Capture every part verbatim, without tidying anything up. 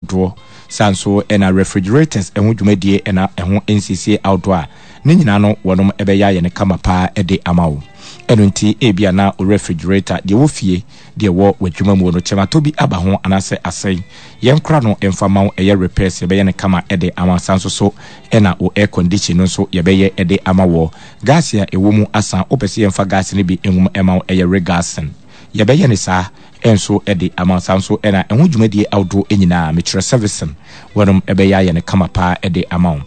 ahodoɔ. Saa nso ɛna refrigerators ɛho dwumadie ɛna ɛho nsiesie ahodoɔ a ne nyinaa no wɔnom ɛbɛyɛ ayɛ no kama paa ɛde ama wo. Ɛno nti ebia na wo refrigerator deɛ wɔ fie, deɛ wɔ w'adwuma mu no, kyɛmatɔ bi aba ho anaasɛ asɛe, yɛnkora no ɛmfa ma wo. Ɛyɛ repairs, yɛbɛyɛ no kama ɛde ama. Saa nso so ɛna wo air condition no nso yɛbɛyɛ ɛde ama wɔ. Gas a ɛwɔ mu asa, wopɛ sɛ yɛmfa gas no bi ngum ɛma wo, ɛyɛ regassing, yɛbɛyɛ ne saa ɛnso ɛde ama. Saa nso ɛna ɛho dwumadie ahodoɔ nyinaa, mekyerɛ servicing, wɔnom ɛbɛyɛ ayɛ no kama paa ɛde ama wo.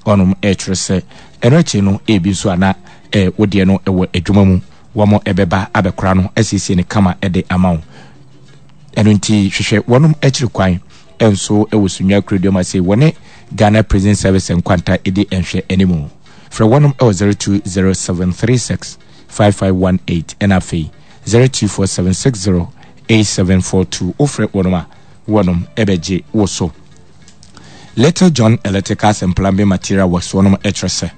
Ɔnom ɛkyerɛ sɛ ɛno akyi no, ebi nso ana ɛɛ wodeɛ no ɛwɔ adwuma mu, wɔn ɛbɛba abɛkora no asiesie ne kama ɛde ama wo. Ɛno nti hwehwɛ wɔnom akyiri kwan ɛnso ɛwɔ Sunyani Kurodua ase, wɔne Ghana Prison Service nkwanta ɛdi nhwɛ anim. Frɛ wɔnom ɛwɔ zero two zero seven three six five five one eight ɛna afei zero two four seven six zero eight seven four two. Wofrɛ wɔnom a, wɔnom ɛbɛgye wo so. Little John Electricals and Plumbing Material Works, wɔnom ɛkyerɛ sɛ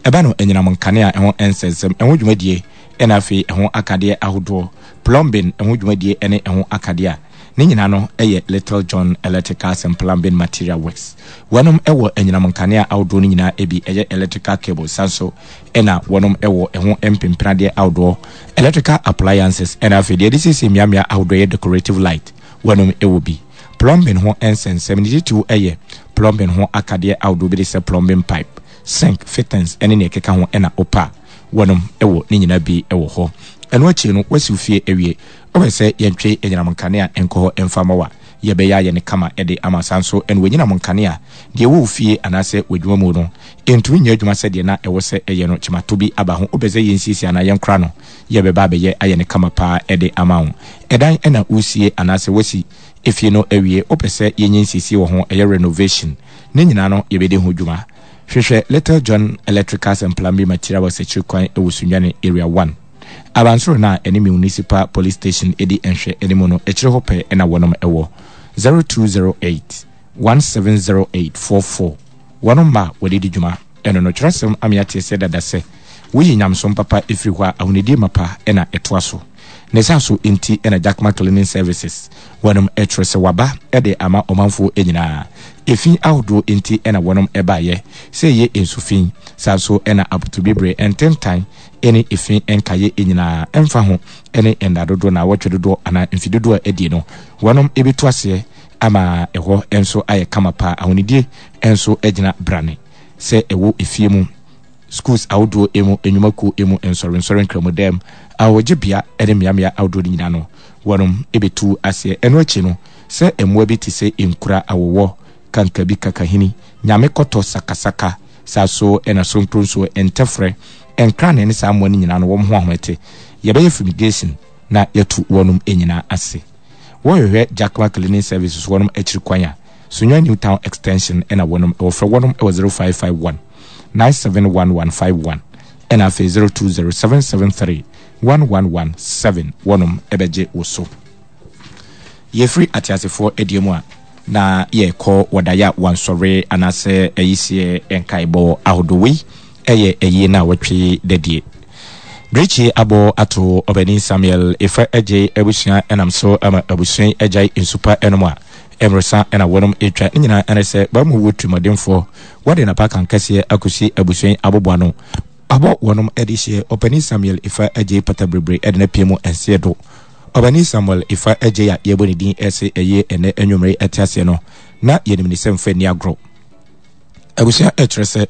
ɛba no anyinam nkanea ɛho nsɛnsɛm ɛho dwumadie ɛna afei ɛho akadeɛ ahodoɔ, plumbing ɛho dwumadie ɛne ɛho akadeɛ a ne nyinaa no ɛyɛ Little John Electricals and Plumbing Material Works. Wɔnom ɛwɔ anyinam nkanea ahodoɔ no nyinaa ebi, ɛyɛ electrical cable, san so ɛna wɔnom ɛwɔ ɛho mpempenadeɛ ahodoɔ, electrical appliances, ɛna afei deɛ yɛde siesie mmeammea ahodoɔ, yɛ decorative light, wɔnom ɛwɔ bi. Plumbing ho nsɛnsɛm ne titiriw ɛyɛ plumbing ho akadeɛ ahodoɔ bi de sɛ plumbing pipe, sink fittings ɛne nea ɛkeka ho ɛna opa, wɔnom ɛwɔ ne nyinaa bi ɛwɔ hɔ. Ɛno akyi no, wasi fie awie, wopɛ sɛ yɛntwe anyinam nkanea nkɔ hɔ ɛmfa ma wa, yɛbɛyɛ ayɛ ne kama ɛde ama. Saa nso ɛna wɔnyinam nkanea deɛ ɛwɔ wo fie anaasɛ w'adwuma mu no ɛntumi nyɛ adwuma sɛdeɛ na ɛwɔ sɛ ɛyɛ no, kyematɔ bi aba ho, wopɛ sɛ yɛnsiesie anaa yɛnkora no, yɛbɛba abɛyɛ ayɛ ne kama paa ɛde ama wo. Ɛdan ɛna wosie anaasɛ wasi efie no awie, wopɛ sɛ yɛnyɛ nsiesie wɔ ho, ɛyɛ renovation, ne nyinaa no yɛbɛdi ho dwuma. Hwehwɛ Little John Electricals and Plumbing Material wɔ sɛkyiri kwan ɛwɔ Sunyani Area one, abansoro no a ɛne Municipal Police Station ɛdi nhwɛ anim no akyire hɔ pɛ ɛna wɔnom ɛwɔ. zero two zero eight one seven zero eight four four. Wɔnom ma wɔde di dwuma. Ɛno no twerɛsɛm ame ateɛ sɛ dada sɛ woyi nyamsom papa ɛfiri hɔ a, ahonidie mapa ɛna ɛtoa so. Ne saa so nti ɛna Jackman Cleaning Services wɔnom ɛtwerɛ sɛ waba ɛde ama ɔmanfoɔ nyinaa. Efi ahodoɔ nti ɛna wɔnom ɛbaeɛ sɛ ɛyɛ nsufi, saa so ɛna apotobibire, ntentan ɛne efi nkaeɛ nyinaa, ɛmfa ho ɛne nda dodoɔ na awɔtwe dodoɔ anaa mfi dodoɔ a adie no, wɔnom ɛbɛtu aseɛ ama ɛhɔ nso ayɛ kama paa. Ahonidie nso gyina brane sɛ ɛwɔ efie mu, schools ahodoɔ emu, nnwumakuo emu, nsɔrensɔre, nkramodam, ahɔgyebea ne mmeammea ahodoɔ no nyinaa no, wɔnom ɛbɛtu aseɛ. Ɛno akyi no, sɛ mmoa bi te sɛ nkura, awowɔ, kankabi, kakahini, nyame kɔtɔ, sakasaka, saa so ɛna sonkronsuo, ntɛfrɛ, nkrane ne saa mmoa no nyinaa no, wɔn ho ahomete, yɛbɛyɛ fumigation na yɛtu wɔnom nyinaa ase. Wɔhwehwɛ Jackman Cleaning Services wɔnom akyiri kwan a, Sunyani New Town Extension ɛna wɔnom wɔfrɛ wɔnom ɛwɔ zero five five one nine seven one one five one ɛna afei zero two zero seven seven three one one one seven. Wɔnom ɛbɛgye wo so. Yɛfiri ateasefoɔ adie mu a, na yɛkɔ wɔdaeɛ a wansɔre anaasɛ ayiseɛ nkaebɔ ahodoɔ. Wei ɛyɛ ayie no a wɔtwe dadie Brekyi abɔ ato Ɔbani Samuel Efa Agye abusua, ɛnam so ama abusua yi agyae nsupa ɛnom a mmeresa ɛna wɔnom atwa ne nyinaa. Ɛne sɛ bamu wɔ tirimɔdenfoɔ wɔde napa kankɛseɛ akɔsi abusua yi aboboa no abɔ wɔnom de hyɛ Ɔpani Samuel Efa Agye pata bebree ɛde no apue mu nseɛ do. Ɔbani Samuel Efa Agye a yɛbɔ ne din ɛsɛ ɛyɛ ɛnɛ anwummere ɛte aseɛ no na yɛnim ne sɛ mfa nni agorɔ. Abusua ɛkyerɛ sɛ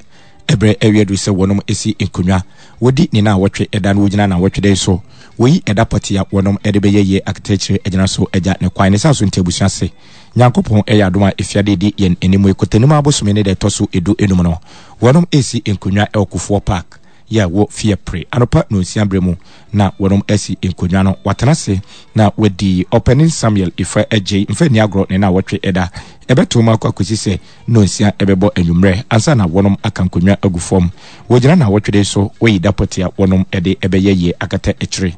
ɛberɛ awie aduru sɛ wɔnom esi nkonnwa wɔdi ne na wɔtwe ɛda no, wɔgyina na wɔtwe dɛ so wɔyi ɛda pɔte a wɔnom ɛde bɛyɛ yie akatakyire agyina so agya ne kwan ne saa so. Nti abusua se Nyankopɔn ɛyɛ adom a, efiade di yɛn anim ekotanim abosome ne deɛ ɛtɔ so edu enum no, wɔnom esi nkonnwa ɛwɔ Kofoɔ Park yɛ wɔ Fiapre anɔpa nonsia berɛ mu na wɔnom asi nkonnwa no, watena ase na wadi Ɔpanin Samuel Ifa Agyei mfa nni agorɔ ne na wɔtwe ɛda ɛbɛto mu akɔ akɔsi sɛ nonsia ɛbɛbɔ anwummerɛ ansa na wɔnom aka nkonnwa agu fam. Wɔgyina na wɔtwede so wɔyi da pɔte a wɔnom ɛde ɛbɛyɛ yie akata akyire.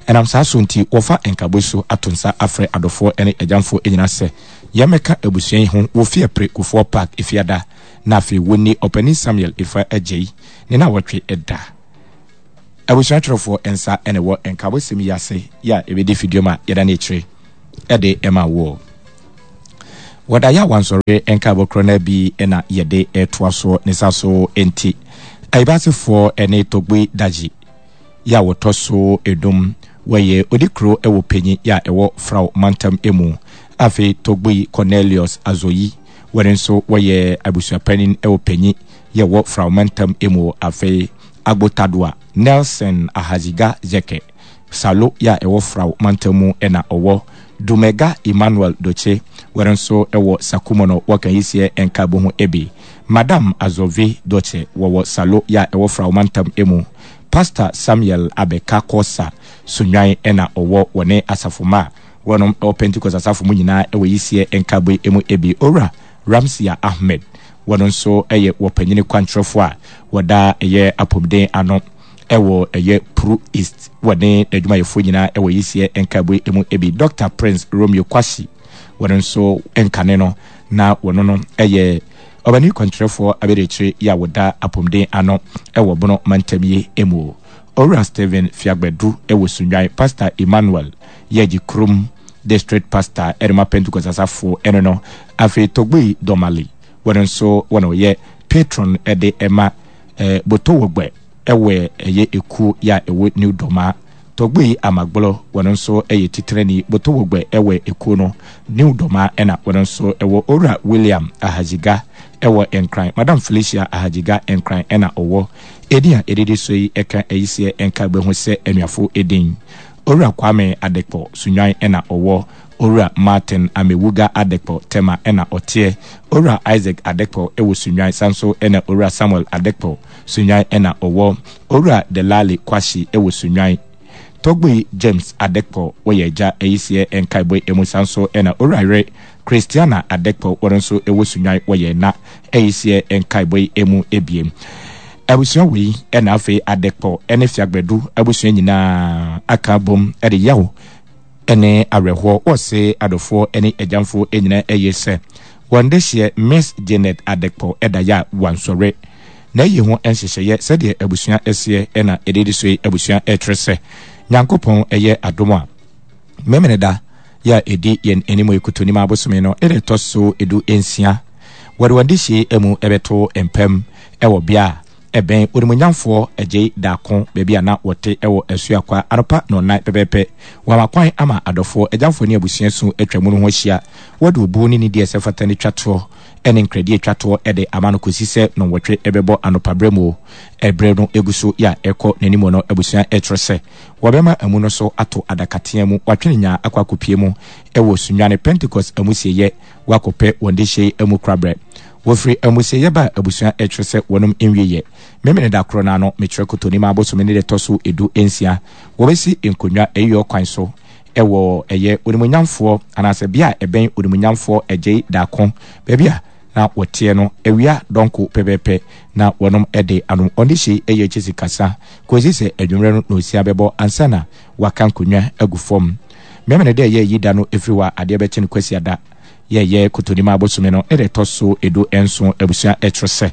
Ɛnam saa so nti wɔfa nkabɔ so ato nsa afrɛ adɔfoɔ ne agyamfoɔ nyinaa sɛ yɛmmɛka abusua yi ho wɔ Fiapre Kofoɔ Park efiada na afei wɔnni Ɔpanin Samuel Ifa Agyei ne na wɔtwe ɛda. Abusua twerɛfoɔ nsa ɛna ɛwɔ nkabɔsɛm yi ase yɛ a ɛbɛdi fidua mu a yɛda ne akyire ɛde ɛma woɔ. Wɔda yɛ awansɔre nkaebɔ korɔ no bi na yɛde retoa soɔ ne sa so nti. Ayibasefoɔ ne Togbi Daji yɛ a wɔtɔ so enum wɔyɛ odikuro wɔ Panyin yɛ a ɛwɔ Frao mantam mu. Afei Togbi Cornelius Azoyi wɔn nso wɔyɛ abusuapanin wɔ Panyin yɛ ɛwɔ Frao mantam mu. Afei Agbotadoa Nelson Ahaziga Zeke Salo yɛ a ɛwɔ Frao mantam mu na ɔwɔ. Dumega Emmanuel Doche wɔn nso wɔ Sakumono wɔka yiseɛ nkaebɔ ho bi. Madam Azove Doche wɔwɔ Salo yɛ a ɛwɔ Frao mantam mu. Pastor Samuel Abeka Kosa Sunwan na ɔwɔ wɔne asafo mma a wɔnom wɔ Pentecost asafo mu nyinaa wɔ yiseɛ nkaebɔ yi mu bi. Owura Ramsia Ahmed wɔn nso yɛ wɔpanyini kwankyerɛfoɔ a wɔda ɛyɛ apɔmuden ano wɔ ɛyɛ Pru East wɔne n'adwumayɛfoɔ nyinaa wɔ yiseɛ nkaebɔ yi mu bi. Doctor Prince Romeo Kwasi wɔn nso nkane no na wɔn no yɛ ɔbani kwankyerɛfoɔ abɛdiakyire yi a wɔda apɔmuden ano wɔ Bono mantam yi mu. Owura Stephen Fiagbadu wɔ Sunnwan, Pastor Emmanuel Yɛgye Kurom District Pastor ɛde ma Pentecost asafo ɛno no. Afei Togbui Domali wɔn nso wɔn ɔyɛ patron ɛde ɛma eh, Botowɔgbɛ ɛwɔ ɛyɛ ekuo yɛ a ɛwɔ New Doma. Togbui Amagblɔ wɔn nso ɛyɛ titirani Botowɔgbɛ ɛwɔ ekuo no New Doma ɛna wɔn nso ɛwɔ Owura William Ahaziga ɛwɔ Nkran, Madam Felicia Ahaziga Nkran ɛna ɔwɔ. Edin a edidi so yi ɛka ayiseɛ nka bɛhu sɛ anuafo edin. Owura Kwame Adekpɔ Sunwan ɛna ɔwɔ. Owura Martin Amewuga Adekpɔ Tema ɛna ɔteɛ. Owura Isaac Adekpɔ ɛwɔ Sunwan sanso ɛna Owura Samuel Adekpɔ Sunwan ɛna ɔwɔ. Owura Delali Kwashi ɛwɔ Sunwan. Togbui James Adekpɔ wɔyɛ agya ayiseɛ nkaebɔ emu sanso ɛna Owura Yere Christiana Adekpɔ wɔn nso ɛwɔ Sunwan wɔyɛ na ayiseɛ nkaebɔ emu ebiem. Abusua wei ɛna afei Adekpɔ ɛne Fiagbadu abusua nyinaa aka bom ɛde yaw ɛne awerɛhoɔ wɔse adɔfoɔ ɛne agyamfoɔ nyinaa ɛyɛ sɛ wɔn de hyɛ Miss Janet Adekpɔ ɛda yɛ a wansɔre na ɛyi ho nhyehyɛeɛ sɛdeɛ abusua ɛseɛ ɛna ɛdedi so yi. Abusua ɛkyerɛ sɛ Nyankopɔn ɛyɛ adom a Memeneda yɛ a ɛdi yɛn anim ekotonim abosome no ɛde ɛtɔ so edu nsia wɔde wɔn de hyɛ mu ɛbɛto mpam ɛwɔ bea a ɛbɛn onimuonyamfoɔ Agyei Daako baabi a na wɔte ɛwɔ Asuakwa anɔpa nɔnnan pɛpɛɛpɛ. Wɔama kwan ama adɔfoɔ, agyamfoɔ ne abusua su atwa mu no ho ahyia. Wɔde obuo ne nidi a ɛsɛ fata ne twa toɔ ne nkradi atwa toɔ de ama no kɔsi sɛ nɔnwɔtwe ɛbɛbɔ anɔpa berɛ mu. Ɛberɛ no egu so yɛ a ɛkɔ n'anim no, abusua ɛkyerɛ sɛ wɔbɛma amu no so ato adakatea mu, wɔatwene nyaa akɔ akɔpie mu ɛwɔ Sunyani Pentecost amusieyɛ wakɔpɛ wɔn de hyɛ amu korabrɛ. Wɔfiri amusieyɛ ba abusua ɛkyerɛ sɛ wɔnom nwieyɛ. Memene da korɔ no ano mekyerɛ Kotonim abosome ne de tɔ so edu nsia wɔbɛsi nkonnwa ɛyɔ kwan so ɛwɔ ɛyɛ onimuonyamfoɔ anaasɛ bea a ɛbɛn onimuonyamfoɔ Agyei Daako baabi a na wɔteɛ no awia dɔnko pɛpɛɛpɛ na wɔnom ɛde ano ɔne hyɛ ɛyɛ akyi sikasa kɔsi sɛ adwummerɛ no na osia bɛbɔ ansa na waka nkonnwa agu fam. Memene dɛ ɛyɛ yi da no ɛfiri hɔ a adeɛ bɛkye no Kwasiada yɛyɛ Kotonim abosome no ne de ɛtɔ so edu nson abusua ɛkyerɛ sɛ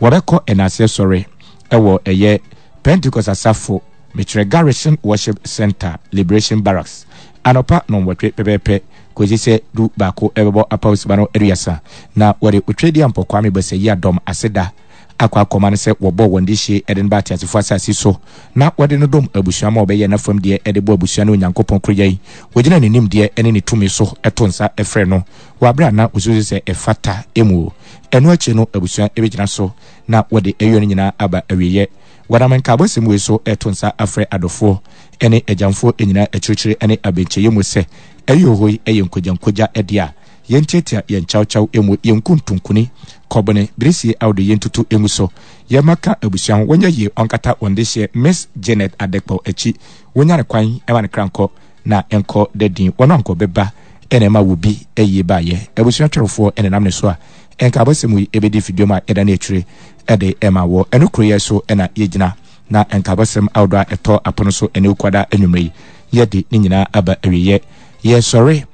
wɔbɛkɔ ɛnaaseɛ sɔre ɛwɔ ɛyɛ Pentecost asafo mekyerɛ Garrison Worship Center Liberation Barracks anɔpa nɔnwɔtwe pɛpɛɛpɛ kɔsi sɛ du baako ɛbɛbɔ apawsiba no aduasa na wɔde Otwedeɛ Ampɔ Kwame Basayi adɔm aseda akɔ akɔma no sɛ wɔbɔ wɔn de hyie ɛde no ba ateasefoɔ asase so na wɔde no dɔm abusua ma ɔbɛyɛ n'afam deɛ ɛde bɔ abusua ne Onyankopɔn koroyɛ yi. Wɔgyina ne nimdeɛ ne ne tumi so ɛto nsa ɛfrɛ no wɔ abere a na wɔsusu sɛ ɛfata emu. Ɛno akyi no abusua ɛbɛgyina so na wɔde ayɔ no nyinaa aba awieeɛ. Wɔnam nkaabɔsɛm wei so ɛto nsa afrɛ adɔfoɔ ne agyamfoɔ nyinaa akyirikyiri ne abɛnkyɛeɛ mu sɛ ɛyɛ hɔ yi ɛyɛ nkogyankogya ɛdeɛ a yɛntiatia yɛn kyawkyaw emu, yɛnku ntonkoni kɔbene birisie awode yɛntutu emu so yɛma ka abusua ho wɔnyɛ yie ɔnkata wɔn de hyɛ Miss Janet Adekpɔ akyi wonya ne kwan ɛma ne kra nkɔ na ɛnkɔ da din wɔn ankɔ bɛba ɛna ɛma wo bi ɛyie baayɛ. Abusua twerɛfoɔ ɛna nam ne so a nkaabɔsɛm yi ɛbɛdi fidua mu a ɛda ne akyire ɛde ɛma wɔ ɛno kuro yɛ so ɛna yɛgyina na nkaabɔsɛm ahodoɔ a ɛtɔ apono so ɛne okwada anwummerɛ yi yɛde ne nyinaa aba awieɛ. Yɛsɔre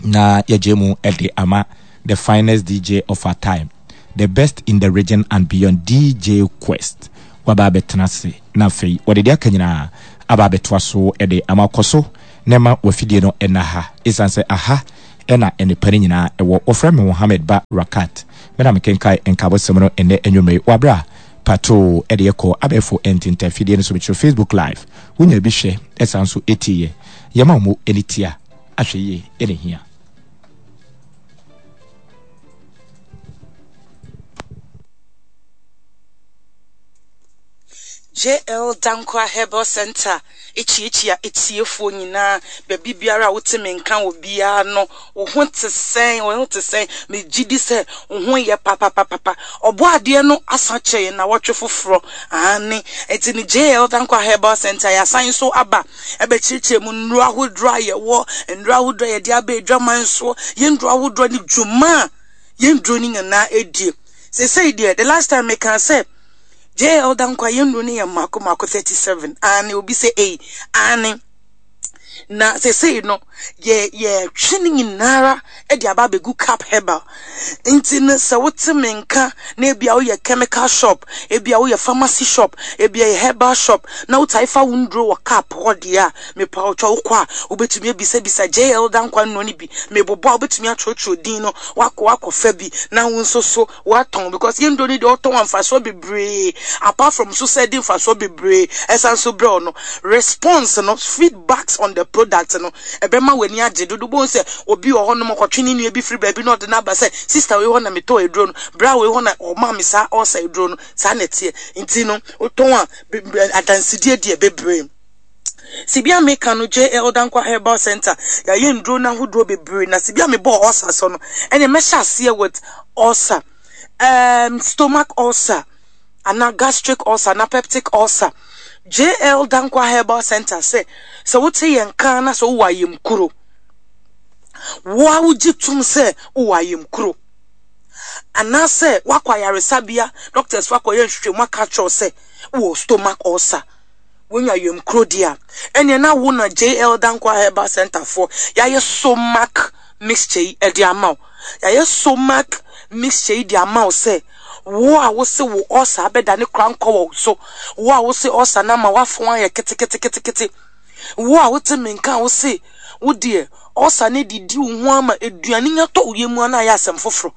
na yɛgye mu ɛde ama the finest D J of our time, the best in the region and beyond, D J Quest. Waba abɛtena ase na afei wɔde deɛ aka nyinaa aba abɛtoa so ɛde ama kɔ so na ɛma wafidie no ɛna ha ɛsiane sɛ aha Ɛna nnepa no nyinaa ɛwɔ. Wɔfrɛ me Mohammed Ba Rakat. Me na mekenkan nkaabɔsɛm no ɛnnɛ anwummere wɔ aberɛ a Patoo ɛde ɛkɔ abɛɛfo ntintan fidie no so. Mekyerɛ Facebook Live. Wonya bi hwɛ ɛsan nso ɛtiiɛ. Yɛma wo mo ani tia. Ahwɛ yie ɛna ɛhia. J L. Dankwa Herbal Centre kyiakyia atiefoɔ nyinaa, baabi biara a wote me nka wɔ biara no, wo ho te sɛn? Wo ho te sɛn? Megye di sɛ wo ho yɛ papapapapa. Ɔbɔadeɛ no asan akyɛ yɛn nnawɔtwe foforɔ. Aane, enti no J L. Dankwa Herbal Centre yɛasan nso aba ɛbɛkyerɛkyerɛ mu nnuro ahodoɔ a yɛwɔ, nnuro ahodoɔ a yɛde aba adwaman soɔ, yɛn nnuro ahodoɔ ne dwuma a yɛn nnuro no nyinaa die. Seesei deɛ, the last time mekaa sɛ J L. Dankwa yɛn nnuro no yɛ mmaako mmaako thirty-seven. Aane, obi sɛ ei, aane. Na seesei no, yɛ yɛtwe ne nyinara de aba abɛgu Cap Herbal. Nti no sɛ wote me nka na ebia woyɛ chemical shop, ebia woyɛ pharmacy shop, ebia yɛ herbal shop na wotae fa wo nduro wɔ Cap hɔ deɛ a, mepa wo kyɛw, wokɔ a wobɛtumi abisabisa J L. Dankwa nnuro no bi. Mebobɔ a wobɛtumi atwerɛtwerɛ din no, wakɔ akɔfa bi na wo nso so watɔn, because yɛn nduro no deɛ, ɔtɔn mfasoɔ bebree. Apart from so sɛ ɛde mfasoɔ bebree ɛsan so brɛ no, response no, feedbacks on the product no, ɛbɛma w'ani agye dodo. Bohu sɛ obi wɔ hɔnom ɔkɔtwe ne nua bi firi baabi na ɔde n'aba sɛ, "Sister wei hɔ na metɔ aduro no, bra wei hɔ na ɔma me saa ɔsa aduro no." Saa na ɛteɛ. Nti no wotɔn a, adansidie deɛ bebree. Sibia meka no, J L. Dankwa Herbal Center yɛayɛ nduro no ahodoɔ bebree, na sibia mebɔɔ ulcer so no, ɛne mɛhyɛ aseɛ with ulcer, um, stomach ulcer anaa gastric ulcer anaa peptic ulcer. J L. Dankwa Herbal Center sɛ sɛ wote yɛn kan na sɛ wowɔ ayamkuro, wo a wogye tom sɛ wowɔ ayamkuro, anaasɛ woakɔ ayaresabea, doctors fo akɔyɛ nhwehwɛmu aka kyerɛw sɛ wowɔ stomach ulcer, wonya ayamkuro deɛ a, ɛneɛ na wo na J L. Dankwa Herbal Center foɔ yɛayɛ stomach mixture yi ɛde ama wo. Yɛayɛ stomach mixture yi de ama wo sɛ wo a wose wo ulcer abɛda ne kora nkɔ wɔ so, wo a wose ulcer no ama woafo ayɛ keteketekete, wo a wote me nka a wose wo deɛ ulcer no didi wo ho ama aduane nya tɔ wo yam a na ayɛ asɛm foforɔ,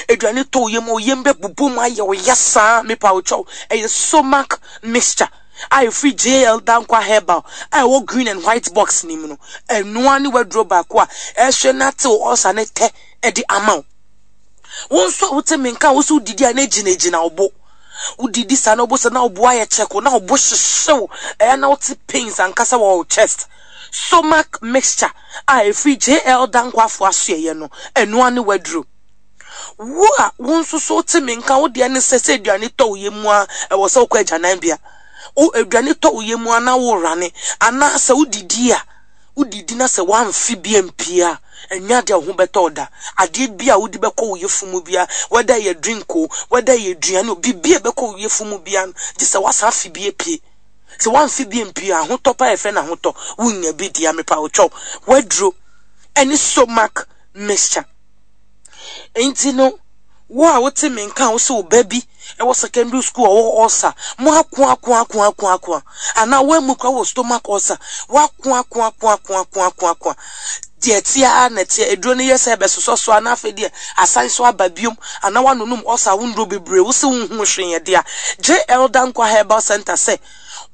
aduane tɔ wo yam a wo yam bɛbobɔ mu ayɛ wo ya saa, mepa wo kyɛw, ɛyɛ stomach mixture a ɛfiri J L. Dankwa Herbal a ɛwɔ green and white box nim no, ɛnoa ne waduro baako a ɛhwɛ na tew ulcer ne tɛ ɛde ama wo. Wo nso a wote me nka a wo so wodidi a na gyinagyina wo bo, wodidi saa na wo bo sɛ na wo bo ayɛ kyɛko na wo bo hyehyew, ɛyɛ na wote pains ankasa wɔ wo chest, stomach mixture a ɛfiri J L. Dankwa afo asoɛyɛ no, ɛnoa ne waduro. Wo a wo nso so wote me nka, wo deɛ ne sɛ sɛ aduane tɔ wo yam a ɛwɔ sɛ wokɔ agyananbea, wo aduane tɔ wo yam a na worane, anaasɛ wodidi a wodidi na sɛ woamfe bi ampie a, ɛnyɛ adeɛ a wo ho bɛtɔ wo da. Adeɛ bi a wode bɛkɔ wo yɛfu mu bia, whether ɛyɛ drink o, whether ɛyɛ aduane o, biribi a ɛbɛkɔ wo yɛfu mu bia no, gye sɛ woasan afe bi apue. Sɛ woamfe bi ampue a, ahotɔ pa yɛfrɛ no ahotɔ, wonya bi deɛ, mepa wo kyɛw, waduro ɛne stomach mixture. Nti no wo a wote me nka a wo sɛ wo ba bi ɛwɔ secondary school a ɔwɔ ulcer, mo ako ako ako ako ako, anaa woamu kora wɔ stomach ulcer, woako ako ako ako ako ako ako, deɛ ɛteɛ ara na ɛteɛ, aduro no yɛ sɛ ɛbɛsosɔ so a na afei deɛ asan so aba biom, anaa woanonom ulcer wo nduro bebree, wo sɛ wonhu hwee yɛ dea, J L. Dankwa Herbal Center sɛ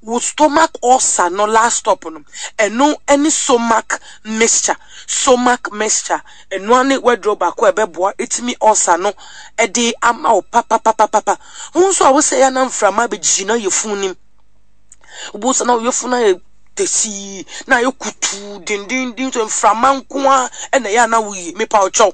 wo stomach ulcer no last stop no, ɛno ɛne stomach mixture. Stomach mixture, ɛnoa ne waduro baako a ɛbɛboa ɛtumi ulcer no ɛde ama wo papapapapa. Wo nso a wosɛ yɛ na mframa bɛgyina yɛfun nim, wobɛhu sɛ na wo yɛfun ayɛ tɛsii na ayɛ kutuu dendenden so, mframa nko a ɛna ɛyɛ a na woyi, mepa wo kyɛw,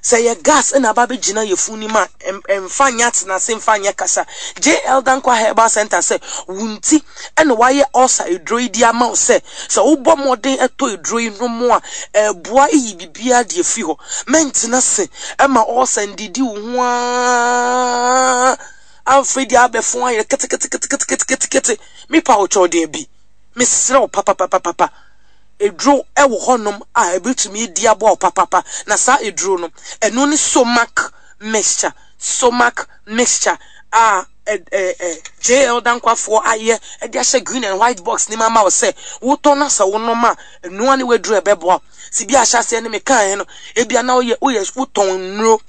sɛ yɛ gas ɛna aba bɛgyina yɛfun nim a, ɛmfa nyɛ atenase, mfa nyɛ kasa. J L. Dankwa Herbal Center sɛ wo nti ɛna wayɛ ulcer eduro yi de ama wo sɛ sɛ wobɔ mmɔden ɛtɔ eduro yi no mu a, ɛboa yi biribiara de afiri hɔ. Mɛntena se ɛma ulcer ndidi wo ho aa afei deɛ abɛfo ayɛ keteketeketeketekete. Mepa wo kyɛw deɛ bi, mesrɛ wo papapapapa, eduro ɛwɔ hɔnom a ebetumi di aboa wo papapa, na saa eduro no, ɛno ne stomach mixture. Stomach mixture a ɛ ɛ ɛ J L. Dankwafoɔ ayɛ ɛde ahyɛ green and white box ne mu ama wo sɛ wotɔ na sɛ wonom a, ɛnoa ne waduro ɛbɛboa wo. Si bi ahyɛaseɛ no mekaeɛ no, ebia na woyɛ woyɛ wotɔn nnuro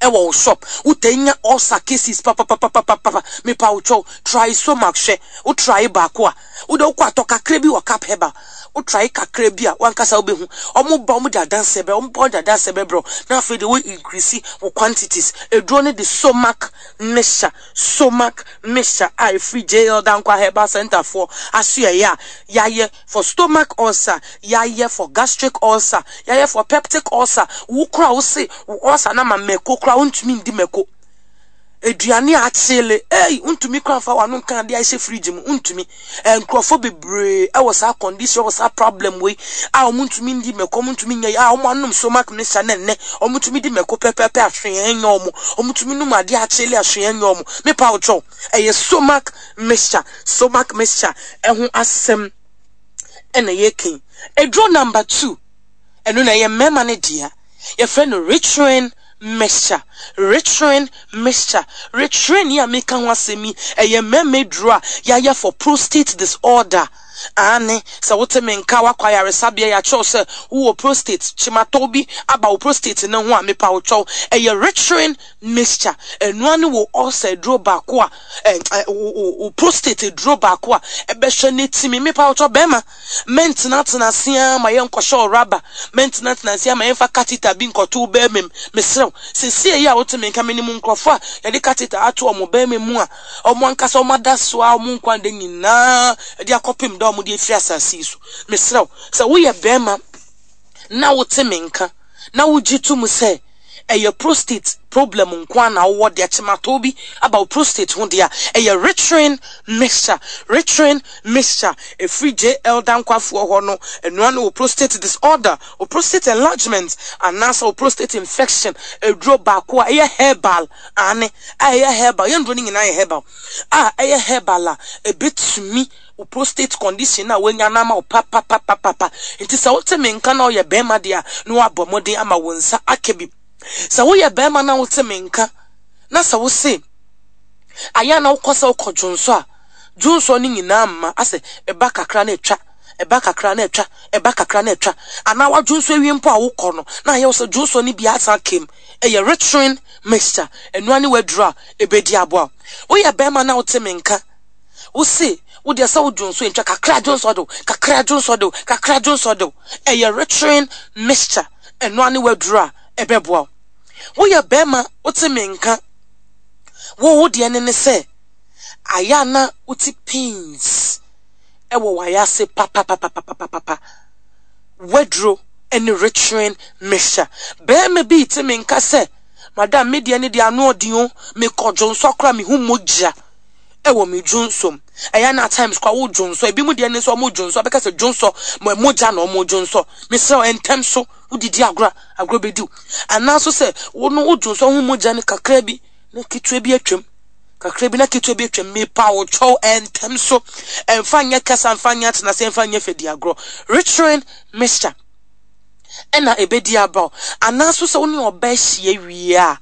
ɛwɔ wo shop, wotɛ nya ulcer cases papapapapapa. Mepa wo kyɛw, try Somac hwɛ. Wo try baako a, wode wokɔ atɔ kakra bi wɔ Cap Herbal, wo try kakra bi a, wankasa wobɛhu ɔmo ba, ɔmo de adanseɛ bɛ ɔmo ba, ɔmo de adanseɛ bɛbrɛ. Na afei de wo increase wo quantities. Eduro no de Somac mixture, Somac mixture a ɛfiri J L Dankwa Herbal Center foɔ aso yɛyɛ a yɛayɛ for stomach ulcer, yɛayɛ for gastric ulcer, yɛayɛ for peptic ulcer. Wo kora wo se wo ulcer na ma mako kora, wontumi ndi mako, aduane a akyele ei, wontumi kora mfa w'ano nka adeɛ a ɛhyɛ fridge mu, wontumi. Nkurɔfoɔ bebree ɛwɔ saa condition, ɛwɔ saa problem wei a wɔn ntumi ndi mako, wɔn ntumi nyɛ a wɔn anom Stomach mixture na nnɛ wɔn ntumi di mako pɛpɛɛpɛ, ahwee nyɛ wɔn, wɔn ntumi num adeɛ akyele, ahwee nyɛ wɔn. Mepa wotwɛw, ɛyɛ Stomach mixture, Stomach mixture ɛho asɛm ɛna yɛka. Eduro number two, ɛno na ɛyɛ mmarima no dea, yɛfrɛ no Ritrin mixture, Ritrin mixture. Ritrin yi a meka ho asɛm yi, ɛyɛ mmarima aduro a yɛayɛ for prostate disorder. Ane sɛ wote me nka, wakɔ ayaresabea, yɛakyerɛw sɛ wowɔ prostate kyematɔw bi aba wo prostate no ho a, mepa wo kyɛw, ɛyɛ Ritrin mixture. Ɛnoa ne wo ulcer aduro baako a ɛ wo wo prostate aduro baako a ɛbɛhwɛ ne timi. Mepa wo kyɛw, bɛrima, mɛntenatena ase ma yɛnkɔhyɛ wo raba, mɛntenatena ase ma yɛmfa catheter bi nkɔto wo bɛrima mu. Mesrɛw, sesie yi a wote me nka, menim nkurɔfoɔ a yɛde catheter ato ɔmo bɛrima mu a ɔmo ankasa ɔmo ada so a ɔmo nkwa da nyinaa de akɔpem da ɔmo de afiri asase yi so. Mesrɛw, sɛ woyɛ bɛrima na wote me nka na wogye to mu sɛ ɛyɛ prostate problem nko a na wowɔ deɛ, kyematɔ bi aba wo prostate ho deɛ a, ɛyɛ Ritrin mixture, Ritrin mixture ɛfiri J L Dankwafoɔ hɔ no, ɛnoa ne wo prostate disorder, wo prostate enlargement anaasɛ wo prostate infection aduro baako a ɛyɛ herbal. Ane a ɛyɛ herbal, yɛn nduro no nyinaa yɛ herbal, a ɛyɛ herbal a ɛbɛtumi wo prostate condition na woanya no ama wo papapapapa. Nti sɛ wote me nka na ɔyɛ bɛrima deɛ a, na woabɔ mmɔden ama wo nsa aka bi. Sɛ woyɛ bɛrima na wote me nka na sɛ wo se ayɛ na wokɔ sɛ wokɔ dwonso a, dwonso no nyinaa mma, asɛ ɛba kakra na atwa, ɛba kakra na atwa, ɛba kakra na atwa, anaa wadwonso awie mpo a wokɔ no na ayɛ wo sɛ dwonso no bi asan kem, ɛyɛ Ritrin mixture. Ɛnoa ne waduro a ɛbɛdi aboa. Woyɛ bɛrima na wote me nka, wo se wodeɛ sɛ wo dwonso ntwa, kakra dwonso de, kakra dwonso de, kakra dwonso de, ɛyɛ Ritrin mixture. Ɛnoa ne waduro a ɛbɛboa wo. Woyɛ bɛrima, wote me nka, wo wo deɛ ne ne sɛ ayɛ a na wote pains ɛwɔ wayase papapapapapapa, waduro ɛne Ritrin mixture. Bɛrima bi te me nka sɛ, "Madam, me deɛ ne deɛ ano ɔden o, mekɔ dwonso akora, mehu mogya ɛwɔ me dwonsom." Ɛyɛ na times kora wo dwonso, ebi mu deɛ ne nso ɔmo dwonso abɛka sɛ dwonso mo mogya na ɔmo dwonso. Mesrɛ, ntɛm so wodidi agorɔ, agorɔ bɛdi wo, anaaso sɛ wo no wo dwonso ho mogya no kakra bi na ketewa bi atwam, kakra bi na ketewa bi atwam, mepa wo kyɛw, ntɛm so, ɛmfa nyɛ kasa, ɛmfa nyɛ atenase, ɛmfa nyɛ fɛdi agorɔ, Ritrin mixture ɛna ebedi aba wo. Anaaso sɛ wo ne ɔbaa ahyia wie a,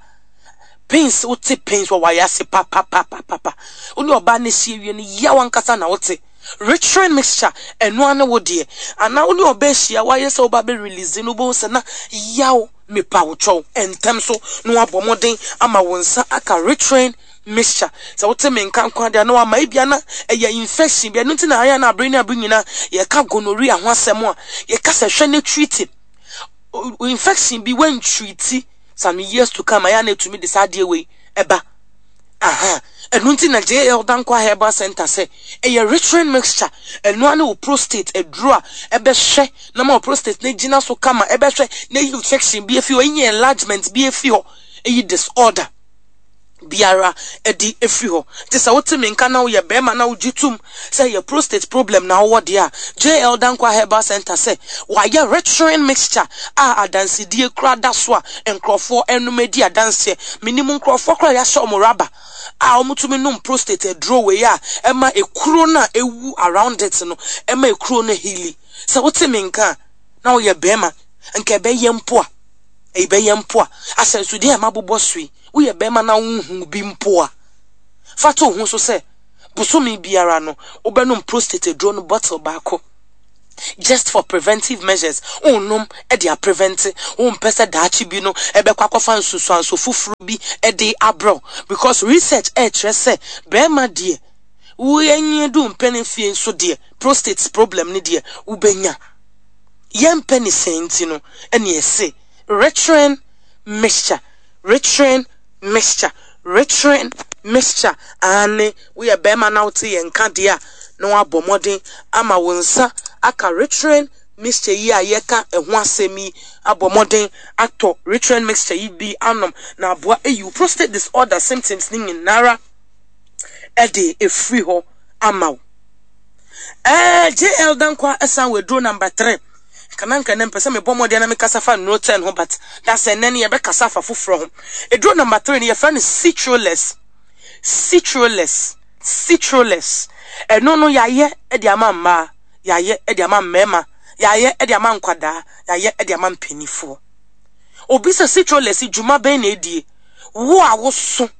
pains, wote pains wɔ wayɛ ase papapapapa, wo ne ɔbaa no ahyia wie no, yaw ankasa na wote, Ritrin mixture ɛnoa ne wo deɛ. Anaa wo ne ɔbaa ahyia, wayɛ sɛ woba bɛ release no, wobɛhu sɛ na yaw, mepa wo kyɛw, ntɛm so na wabɔ mmɔden ama wo nsa aka Ritrin mixture. Sɛ wote me nka nko adeɛ na wama ebia na ɛyɛ infection bi, ɛno nti na ayɛ na abere ne abere nyinaa yɛka gonorrhea ho asɛm a, yɛka sɛ hwɛ ne treat infection bi, wan treat, some years to come ayɛ na etumi de saa adeɛ wei ɛba aha. Ɛno nti na J L Dankwa Herbal Center sɛ ɛyɛ Ritrin mixture. Ɛnoa ne wo prostate aduro a ɛbɛhwɛ na ma wo prostate ne gyina so kama, ɛbɛhwɛ na eyi infection bi efi hɔ, eyi enlargement bi efi hɔ, eyi disorder biara ɛde efiri hɔ. Nti sɛ wote me nka na woyɛ bɛrima na wogye tum sɛ yɛ prostate problem na wowɔ deɛ a, J L Dankwa Herbal Center sɛ wayɛ Ritrin mixture a adansedie kora da so a nkurɔfoɔ ɛnum adi adanseɛ. Menim nkurɔfoɔ kora yɛahyɛ ɔmo raba a wɔtumi nom prostate aduro wei a ɛma ekuro no a ewu around it no, ɛma ekuro no heal. Sɛ wote me nka na woyɛ bɛrima, nka ɛbɛyɛ mpo a ɛbɛyɛ mpo a ahyɛnsodeɛ a mabobɔ so yi, woyɛ bɛrima na wohu bi mpo a, fa to ho so sɛ bosome biara no wobɛnom prostate aduro no bottle baako. Just for preventive measures, wonom de aprevent, wompɛ sɛ daakye bi no ɛbɛkɔ akɔfa nsusuanso foforɔ bi de abrɛ, because research ɛrekyerɛ sɛ bɛrima deɛ, woanyi du mpɛn fie nso deɛ, prostate problem ne deɛ wobɛnya. Yɛmpɛ ne sɛn nti no ɛne ɛse Ritrin Mixture, Ritrin Mixture, Ritrin Mixture. Ane, woyɛ bɛrima na wote yɛn nka deɛ a, na wabɔ mmɔden ama wo nsa aka Ritrin Mixture yi a yɛka ɛho asɛm yi, abɔ mmɔden atɔ Ritrin Mixture yi bi anom na aboa eyi wo prostate disorder symptoms ne nyinara ɛde efiri hɔ ama wo. ɛɛ J L Dankwa ɛsan wɔ aduro number three. Kana nka ne mpɛ sɛ mebɔ mmɔden na mekasa fa nnuro ten ho, but da sɛ nnɛ no yɛbɛkasa afa foforɔ ho. Aduro number three no, yɛfrɛ no Citroless, Citroless, Citroless. Ɛno no, yɛayɛ de ama mmaa, yɛayɛ de ama mmarima, yɛayɛ de ama nkwadaa, yɛayɛ de ama mpanimfoɔ. Obi sɛ Citroless dwuma bɛn na edie? Wo a woso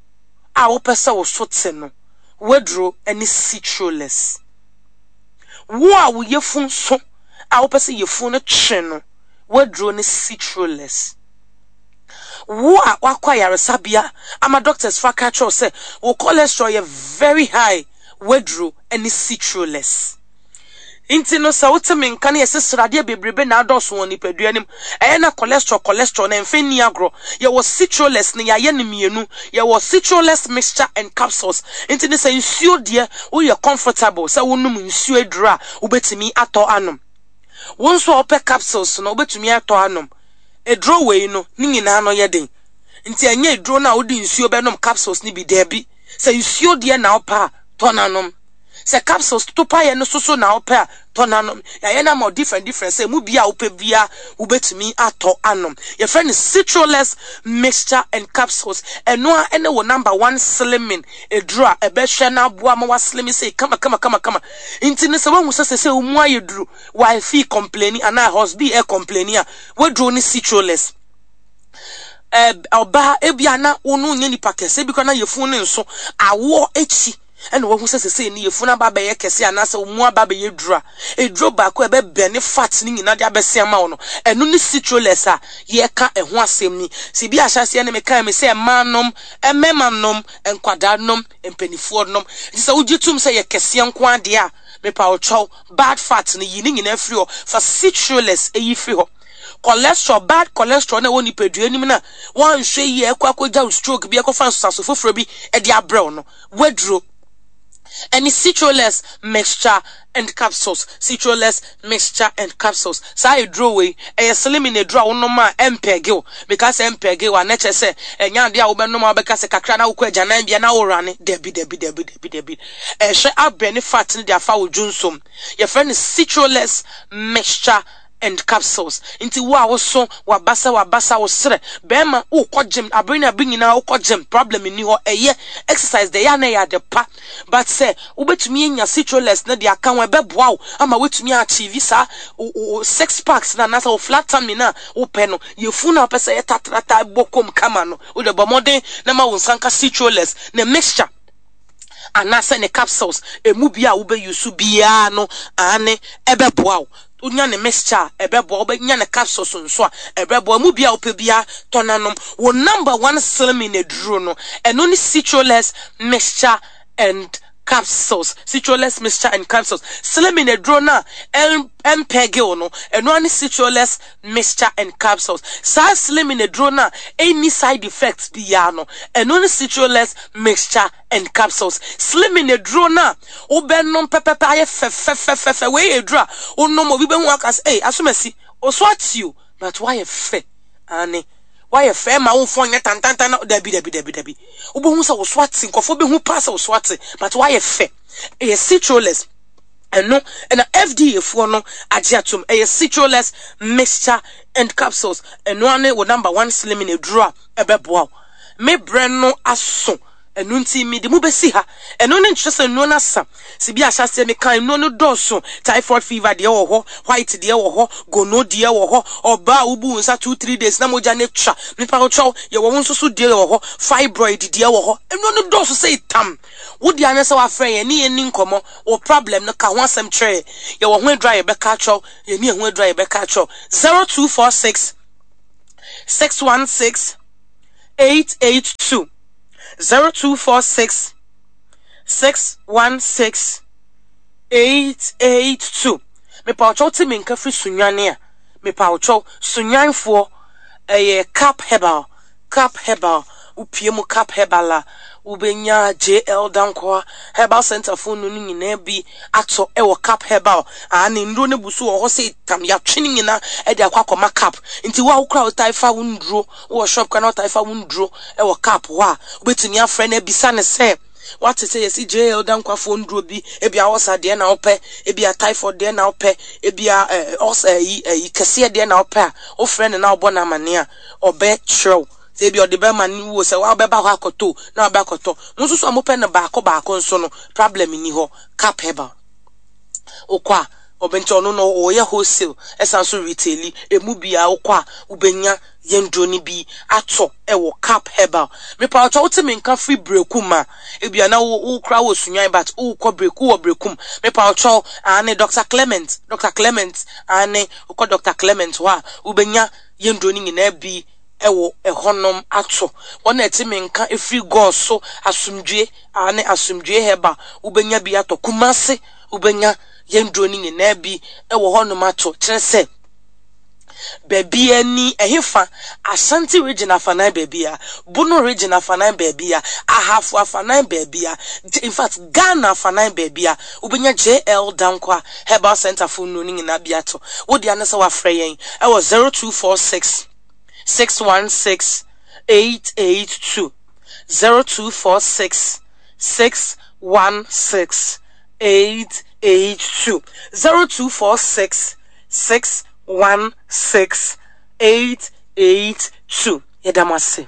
a wopɛ sɛ wo so te no, waduro ne Citroless. Wo a wo yafunu so a wopɛ sɛ yafunu no twe no, waduro ne Citroless. Wo a wakɔ ayaresabea ama doctors fa ka kyerɛw sɛ wo cholesterol yɛ very high, waduro ne Citroless. Nti no, sɛ wote me nka no, yɛsɛ sradeɛ bebrebe na adɔɔso wɔ nipadua no mu, ɛyɛ na cholesterol cholesterol na ɛmfa nni agorɔ. Yɛwɔ Citroless no, yɛayɛ no mmienu. Yɛwɔ Citroless Mixture and Capsules. Nti no, sɛ nsuo deɛ, woyɛ comfortable sɛ wonom nsuo aduro a, wobɛtumi atɔ anom. Wo nso a wopɛ capsules no, wobɛtumi atɔ anom. Aduro wei no ne nyinaa no yɛ den, nti ɛnyɛ aduro no a wode nsuo bɛnom capsules no bi. Daabi, sɛ nsuo deɛ na wopɛ a, tɔ n'anom. Sɛ capsules to paeɛ no soso na wopɛ a, tɔ n'anom. Yɛayɛ no ama different different sɛ mu bia a wopɛ bia wobɛtumi atɔ anom. Yɛfrɛ no Citroless Mixture and Capsules. Ɛno a ɛne wo number one slimming aduro a ɛbɛhwɛ no aboa ma waslim sɛ kama kama kama kama. Nti no, sɛ woahu sɛ sɛ sɛ wo mu ayɛ duru, wife complaining anaa husband ɛ complaining a, waduro ne Citroless. Ɔbaa, ebia na wo no nyɛ nipa kɛse ebi kora na yɛfunu ne nso awoɔ akyi ɛna wahu sɛ sɛsɛ ne yɛfunu aba bɛyɛ kɛse anaasɛ wo mu aba bɛyɛ duru a, eduro baako a ɛbɛbɛn ne fat ne nyinaa de abɛsi ama wo no, ɛno ne Citroless a yɛka ɛho asɛm ni. Sɛ bi ahyɛseɛ ne meka mi sɛ mmaa nom, mmarima nom, nkwadaa nom, mpanimfoɔ nom. Nti sɛ wogye tum sɛ yɛ kɛseɛ nko adeɛ a, mepa ɔkyɛw, bad fat no, yi ne nyinaa firi hɔ, fa Citroless eyi firi hɔ. Cholesterol, bad cholesterol na ɛwɔ nipadua anim na wɔanhwɛ yie ɛkɔ akɔgya wo stroke bi, ɛkɔfa nsosaso foforɔ bi ɛde abrɛw no, waduro ɛne Citroless Mixture and Capsules, Citroless Mixture and Capsules. Saa eduro wei ɛyɛ slimming eduro a wonom a ɛmpɛge wo. Meka sɛ ɛmpɛge wo a, na kyerɛ sɛ ɛnyɛ adeɛ a wobɛnom a wobɛka sɛ kakra na wokɔ agyanan bia na worane. Dabi, dabi, dabi, dabi, dabi. Ɛhwɛ abɛn ne fat no de afa wo dwonsom. Yɛfrɛ no Citroless Mixture and Capsules. Nti wo a woso wabasa wabasa, wo serɛ bɛrima, wokɔ gym abere ne abere nyinaa, wokɔ gym, problem nni hɔ. Ɛyɛ exercise deɛ, ɛyɛ a na ɛyɛ ade pa, but sɛ wobɛtumi anya Citroless no de aka ho, ɛbɛboa wo ama woatumi achieve saa wo six packs na anaasɛ wo flat tummy no a wopɛ no, yɛfu no a wopɛ sɛ yɛ tatrata bɔ kom kama no, wode bɔ mmɔden na ma wo nsa nka Citroless ne mixture anaasɛ ne capsules. Emu bi a wobɛyi so biara no ane ɛbɛboa wo. Wonya ne mixture a, ɛbɛboa. Wobɛnya ne capsules nso a, ɛbɛboa. Mu bi a wopɛ biara, tɔ nanom. Wo number one slimming aduro no, ɛno ne Citroless Mixture and Capsules, Citroless Mixture and Capsules. Slimming aduro no a ɛmpɛge wo no, ɛno ne Citroless Mixture and Capsules. Saa slimming aduro no a ɛnni side effects biara no, ɛno ne Citroless Mixture and Capsules. Slimming aduro no a wobɛnom pɛpɛpɛ ayɛ fɛfɛfɛfɛ. Wei yɛ aduro a wonom, obi bɛhu aka sɛ, "Ei, asomasi ɔso ate o, but woayɛ fɛ." Ane, woayɛ fɛ ma womfɔ nyɛ tantantan na dabi, dabi, dabi, dabi. Wobɛhu sɛ wo so ate, nkɔfoɔ bɛhu paa sɛ wo so ate, but woayɛ fɛ. Ɛyɛ Citroless. Ɛno ɛna F D A foɔ no agye atom. Ɛyɛ Citroless Mixture and Capsules. Ɛno ane wo number one slimming aduro a ɛbɛboa wo. Me brɛ no aso. Ɛno nti mede mu bɛsi ha. Ɛno ne nkyerɛ sɛ nnuro no asa. Sɛ bi ahyɛ aseɛ meka nnuro no dɔɔso. Typhoid fever deɛ wɔ hɔ, white deɛ wɔ hɔ, gono deɛ wɔ hɔ, ɔbaa a wobu wo nsa two three days na mogya no atwa, nipa kyɛw, yɛwɔ wo nso so deɛ wɔ hɔ, fibroid deɛ wɔ hɔ. Nnuro no dɔɔso sɛ tam. Wo deɛ anyɛ sɛ wafrɛ yɛn ne yɛn ni nkɔmmɔ, wo problem no ka ho asɛm kyerɛ yɛn. Yɛwɔ ho aduru a yɛbɛka akyerɛw, yɛni ɛho aduru a yɛbɛka akyerɛw. zero two four six six one six eight eight two zero two four six six one six eight eight two. Mepa te me nka firi Sunyani a, mepa Sunyanfoɔ, ɛyɛ Cap Herbal, Cap Herbal. Wopie mu Cap Herbal a, wobɛnya J L Dankoa Herbal Center fo no no nyinaa bi atɔ ɛwɔ Cap Herbal. A ne nduro no bu so wɔ hɔ sɛ tam, yɛatwe no nyinaa ɛde akɔ akɔma Cap. Nti wo a wokora wotae fa wo nduro wowɔ shop kora na wotae fa wo nduro ɛwɔ Cap hɔ a, wobɛtumi afrɛ no abisa ne sɛ wate sɛ yɛsi J L Dankwafoɔ nduro bi, ebi a ɔsa deɛ na wopɛ, ebi a typhoid deɛ na wopɛ, ebi a ɛɛ ɔsa ɛyi ɛyi kɛseɛ deɛ na wopɛ a, wofrɛ no na wobɔ no amane a, ɔbɛkyerɛw sɛ ebi ɔde bɛma ne wo sɛ wabɛba hɔ akɔtɔ na wabɛ akɔtɔ. Mo nso so a mopɛ no baako baako nso no, problem ni hɔ. Cap Herbal, wokɔ a ɔbɛnti ɔno no ɔyɛ wholesale, ɛsan so retail. Emu bia wokɔ a wobɛnya yɛn duro no bi atɔ ɛwɔ Cap Herbal. Mepa ɔtɔ wote me nka firi Brekum a, ebia na wo wo kora wɔ Sunyan but wokɔ Breku wɔ Brekum, mepa ɔtɔ ane Doctor Clement, Doctor Clement ane wokɔ Doctor Clement hɔ a, wobɛnya yɛn duro no nyinaa bi ɛwɔ ɛhɔnom ato. Wɔn a ɛte me nka efiri gɔɔ so, Asomdwe ane Asomdwe Herbal, wobɛnya bi atɔ. Kumase, wobɛnya yɛn duro no nyinaa bi ɛwɔ hɔnom ato. Kyerɛ sɛ baabi ani ɛhefa, Ashanti Region afanan baabi a, Bono Region afanan baabi a, Ahafo afanan baabi a, in fact Ghana afanan baabi a, wobɛnya J L Dankwa Herbal Center fo nnuro no nyinaa bi ato. Wode ane sɛ wafrɛ yɛn ɛwɔ zero two four six six one six eight eight two, zero two four six six one six eight eight two, zero two four six six one six eight eight two. Yɛda mo ase.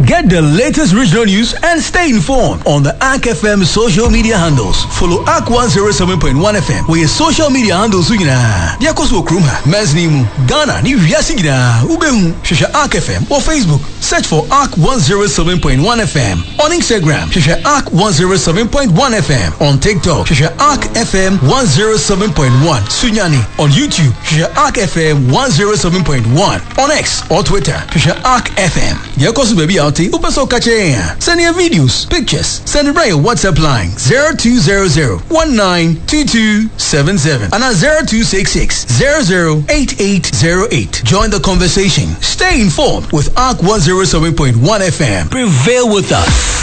Get the latest regional news and stay informed on the A R C F M social media handles. Follow A R C one oh seven point one F M with your social media handles nyinaa. Deɛ ɛkɔ so wɔ kurom ha, mansini mu, Ghana ne wiase nyinaa, wobɛhu. Hwehwɛ A R C F M wɔ Facebook. Search for A R C one oh seven point one F M. On Instagram, hwehwɛ A R C one oh seven point one F M. On TikTok, hwehwɛ A R C F M one oh seven point one Sunyani. On YouTube, hwehwɛ A R C F M one oh seven point one. On X or Twitter, hwehwɛ A R C F M. Deɛ ɛkɔ so baabi a wote, wopɛ sɛ woka kyerɛ yɛn a, send your videos, pictures, send it right your WhatsApp line zero two zero zero one nine two two seven seven and zero two six six zero zero eight eight zero eight. Join the conversation. Stay informed with A R C one oh seven point one F M. Prevail with us.